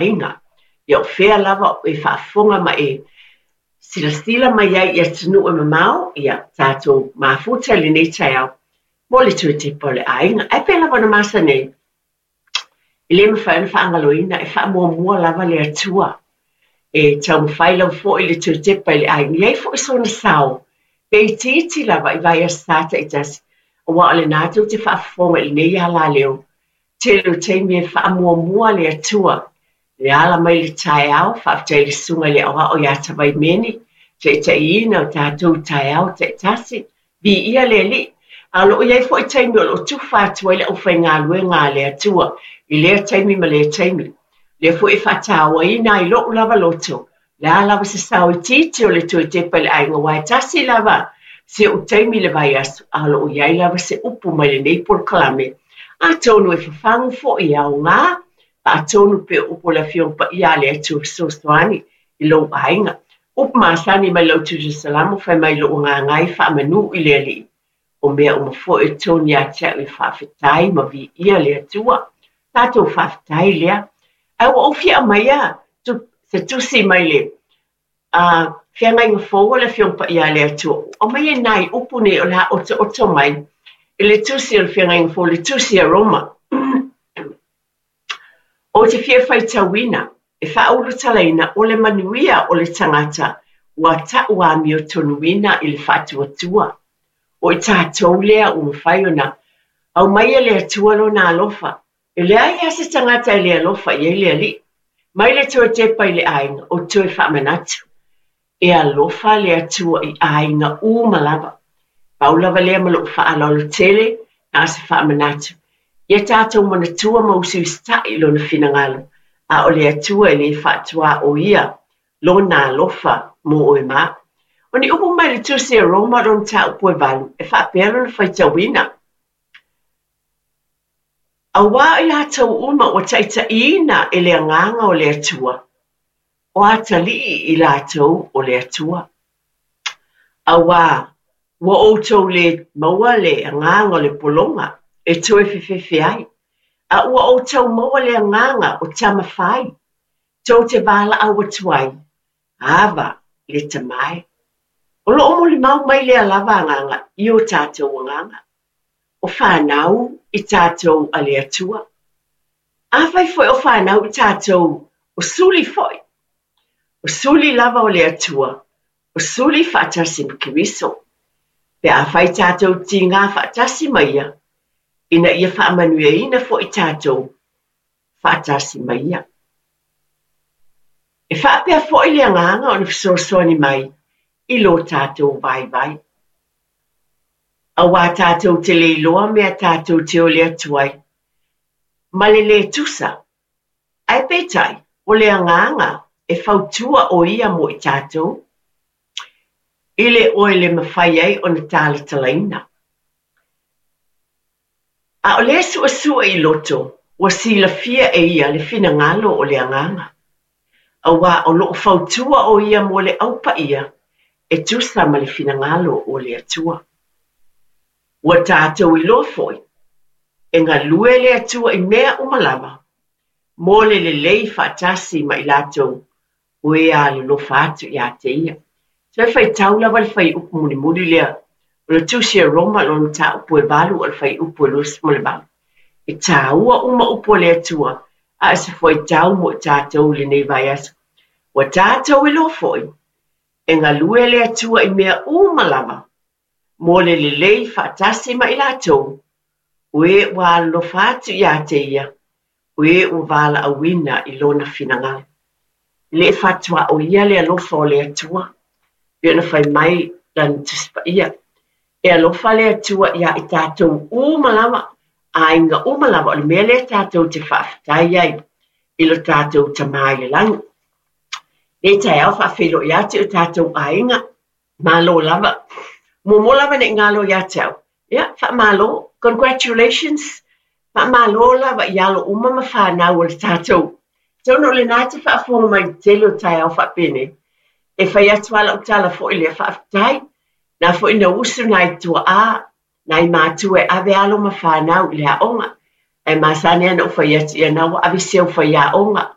Aiga. Ia o fea lava e faafofoga ma e silasila mai ai i atunuu e mamao, ia tatou mafuta i lenei taeao mo le toe tepa o le aiga. Ae pei lava ona masani ai, e le mafai ona faagaloina, e faamuamua lava le Atua. E taumafai lava foi le toe tepa i le aiga, e i ai foi sona sao, pe itiiti lava i vaiaso sa taitasi, aua o lena tou te faafofoga i lenei alaleo Tele o taimi e faamuamua le Atua i le ala mai le taeao, faafetai i le Susuga i le Aoao ia Tavaimeni, taitaiina o tatou i taeao taitasi, viia le Alii. A o lo o i ai foi taimi o lo o tufa atu ai le aufaigaluega a le Atua i lea taimi ma lea taimi. O lea foi e faatauaina ai lou lava loto, o le a lava se sao itiiti o le toe tepa i le aiga, aua e tasi lava si ou taimi i le vaiaso, a o lo o i ai lava se upu mai lenei polokalame. Atonu e fafagu foi, e aoga, faatonu pea upu o le Afioga Paia a le Atua Fesoasoani i lou aiga. Upu masani mai lau Tusi Salamo fai mai lou agaga e faamanu i le Alii. O mea uma foi o tonu ia te au e faafetai ma viia le Atua. Tatou faafetai lea. Ae ua ou fia aumaia se tusi mai le Feagaiga Fou a le Afioga Paia a le Atua. Ua aumaia nai upu nei o le a otooto mai i le tusi o le Feagaiga Fou, le tusi a Roma. Ou te fia faitauina, e faaulutalaina o le manuia o le tagata ua ta'u amiotonuina i le faatuatua. O i tatou lea ua mafai ona aumaia e le Atua Lona alofa. E leai lava se tagata e le alofa i ai le Alii. Mai le toe tepa i le aiga, o toe faamanatu. E alofa le Atua i aiga uma lava. Pau lava lea ma lou faaaloalo tele, na o se faamanatu. Ia tatou manatua ma usiusita'i i Lona finagalo, a o le Atua e le faatuaoia Lona alofa mo oe ma au. O ni upu mai le Tusi a Roma o lona mataupu e valu, e faapea lona faitauina, Auā o i latou uma ua taitaiina e le Agaga o le Atua, o atalii i latou o le Atua. Auā, ua outou lē maua le agaga o le pologa e toe fefefe ai, a ua outou maua le agaga o tama fai, tou te valaau atu ai, Ava, le Tama e. O lo o molimau mai lea lava agaga i o tatou agaga, o fanau i tatou a le Atua. Afai foi o fanau i tatou, o suli foi. O suli lava o le Atua, o suli faatasi ma Keriso. Pe afai tatou tigā faatasi ma Ia, ina ia faamanuiaina foi tatou faatasi ma Ia. E faapea foi le agaga o le fesoasoani mai i lo tatou vaivai. Auā tatou te le iloa mea tatou te ole atu ai ma le lē tusa, ae peitai, o le agaga e fautua ʻo ia mo i tatou, i le oe le mafai ai ona talatalaina. A o le suesue i loto, ua silafia e ia le finagalo o le Agaga, auā o lo o fautua ʻo ia mo le Au Paia e tusa ma le finagalo o le Atua. Ua tatou iloa foi, e galue le Atua i mea uma lava, mo le lelei faatasi ma i latou o e alolofa atu ia te ia. Toe faitau lava le fuaiupu mulimuli lea o le Tusi a Roma lona mataupu e valu o le fuaiupu e 28. E tāua uma upu a le Atua, a o se fuaitau mo i tatou i lenei vaiaso. Ua tatou iloa foi, e galue le Atua i mea uma lava, mo le lelei faatasi ma i latou o e ua alolofa atu ia te ia, o e ua valaauina i lona finagalo. E le faatuaoia le alofa o le Atua, pei ona fai mai lana Tusi Paia, E alofa le Atua iā i tatou uma lava, aiga uma lava, o le mea lea tatou te faafetai ai i lo tatou Tama i le lagi. Lenei taeao faafeiloai atu i o tatou aiga, Malo lava. Muamua lava ne i galo ia te au, ia, faamalo, congratulations, faamalo lava i alo uma ma fanau o le tatou. Atonu o lena e te faafofoga mai i le tele o taeao faapenei, e fai atu lava lau tala foi lea, faafetai, na foi na usu nai tuaa, nai matua e ave alo ma fanau i le aoga. Ae masani lava ona ou fai atu, ia na ua ave si au faiaoga.